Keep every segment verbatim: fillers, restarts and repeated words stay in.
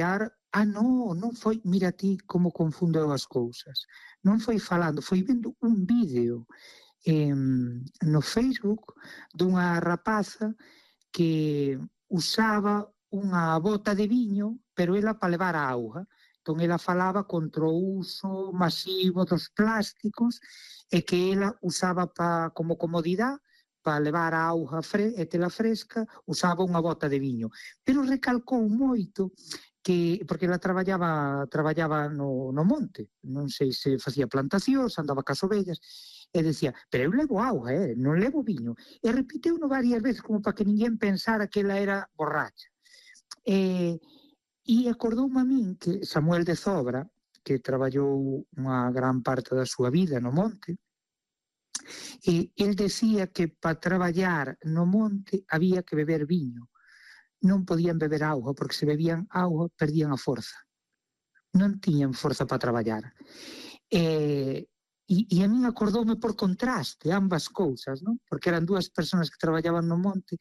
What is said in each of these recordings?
ah, non, non foi, mira ti como confundeu as cousas, non foi falando, foi vendo un vídeo eh, no Facebook dunha rapaza que usaba unha bota de viño, pero ela para levar a auga. Entón ela falaba contra o uso masivo dos plásticos e que ela usaba pa, como comodidade para levar a auga fre e tela fresca, usaba unha bota de viño. Pero recalcou moito que, porque ela traballaba traballaba no, no monte, non sei se facía plantacións, andaba cas ovellas, e decía, pero eu levo auga, eh, non levo viño. E repiteuno varias veces como para que ninguén pensara que ela era borracha. E, e acordoume a min que Samuel de Zobra, que traballou unha gran parte da súa vida no monte, e el decía que para traballar no monte había que beber viño. Non podían beber auga, porque se bebían auga perdían a forza. Non tiñan forza para traballar. E, e, e a min acordoume por contraste ambas cousas, non? Porque eran dúas persoas que traballaban no monte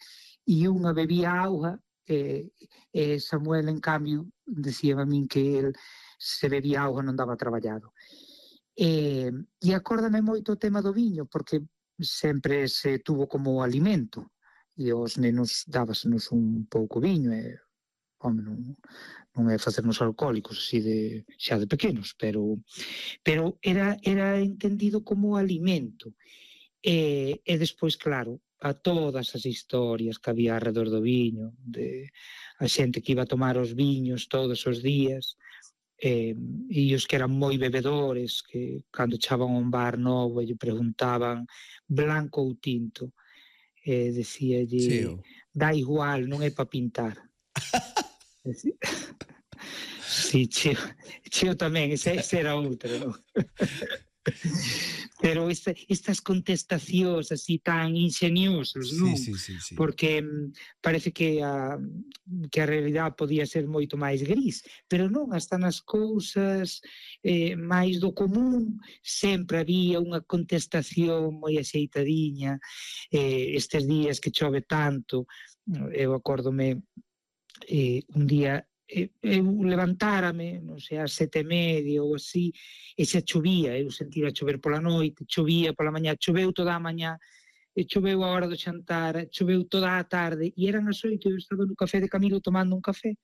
e unha bebía auga e, e Samuel, en cambio, decía a min que el se bebía auga non daba traballado. E, e acórdame moito o tema do viño, porque sempre se tuvo como alimento. E aos nenos dábasenos un pouco viño e, home, non, non é facernos alcohólicos así de, xa de pequenos, pero pero era, era entendido como alimento. E, e despois, claro, a todas as historias que había alrededor do viño, de a xente que iba a tomar os viños todos os días, e, e os que eran moi bebedores, que cando echaban un bar novo e lle preguntaban blanco ou tinto, e decíalle, dá igual, non é para pintar. Si, cheo, cheo tamén, ese, ese era outro, non? Pero esta, estas contestacións así tan ingeniosas, non? Sí, sí, sí, sí. Porque mm, parece que a, que a realidade podía ser moito máis gris, pero non, hasta nas cousas eh, máis do común sempre había unha contestación moi axeitadiña. Eh, estes días que chove tanto, eu acórdome eh, un día eu levantárame, non sei, ás sete e media ou así, e xa chovía, eu sentira chover pola noite, chovía pola mañá, choveu toda a mañá, e choveu a hora do xantar, choveu toda a tarde, e eran as oito, eu estaba no café de Camilo tomando un café,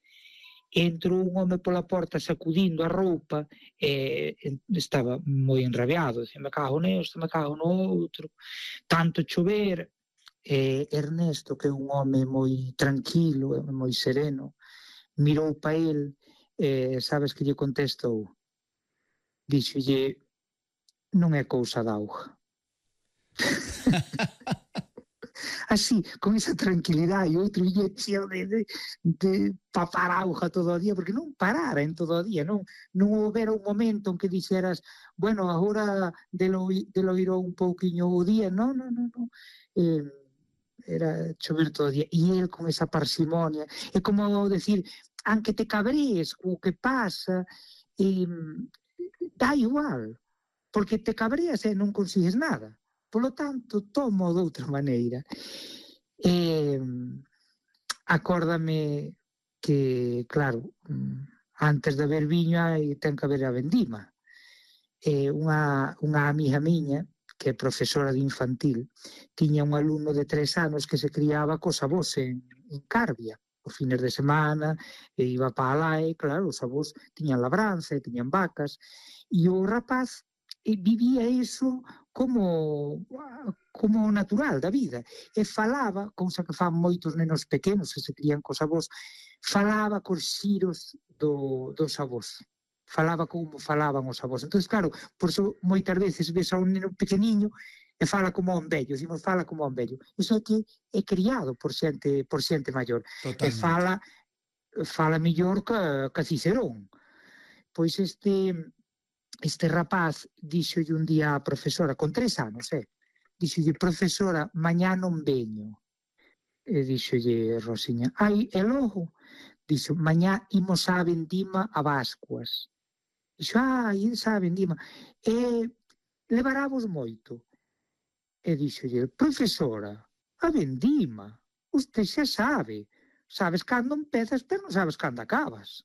e entrou un home pola porta sacudindo a roupa, e estaba moi enrabiado, dicía, me cago nesto, me cago no outro, tanto chover. E Ernesto, que é un home moi tranquilo, moi sereno, mirou pa el, eh, sabes que lle contestou? Díxolle, non é cousa da auga. Así, con esa tranquilidade, e outro lle cheo de, de, de papar auga todo o día, porque non parara en todo o día, non, non houbera un momento en que dixeras, bueno, agora delo, delo irou un pouquiño o día, non, non, non, non. Eh, era chover todo o día, e el con esa parsimonia, é como decir, aunque te cabrees o que pasa, eh, dá igual, porque te cabreas e non consigues nada, polo tanto, tomo de outra maneira. Eh, acórdame que, claro, antes de haber viño hai, ten que haber a vendima. Eh, unha, unha amiga miña, que é profesora de infantil, tiña un alumno de tres anos que se criaba cos avós en, en Carbia, os fines de semana, e iba para lá e, claro, os avós tiñan labranza e tiñan vacas, e o rapaz e vivía iso como como natural da vida, e falaba, cousa que fan moitos nenos pequenos que se crían cos avós, falaba cos xiros do, dos avós, falaba como falaban os avós. Entón, claro, por iso moitas veces ves a un neno pequeniño e fala como un vello, dicimos fala como un vello. Iso é que é criado por xente por xente maior. Totalmente. E fala fala mellor que, que Cicerón. Pois este este rapaz díxolle un día a profesora, con tres anos, eh? Díxolle, profesora, mañá non veño. E díxolle Rosiña, ai, e logo? Dixo, mañá imos á vendima a Bascuas. Dixo, ai, esa vendima. E levaravos moito. E díxolle, profesora, a vendima, usted xa sabe, sabes cando empezas, pero non sabes cando acabas.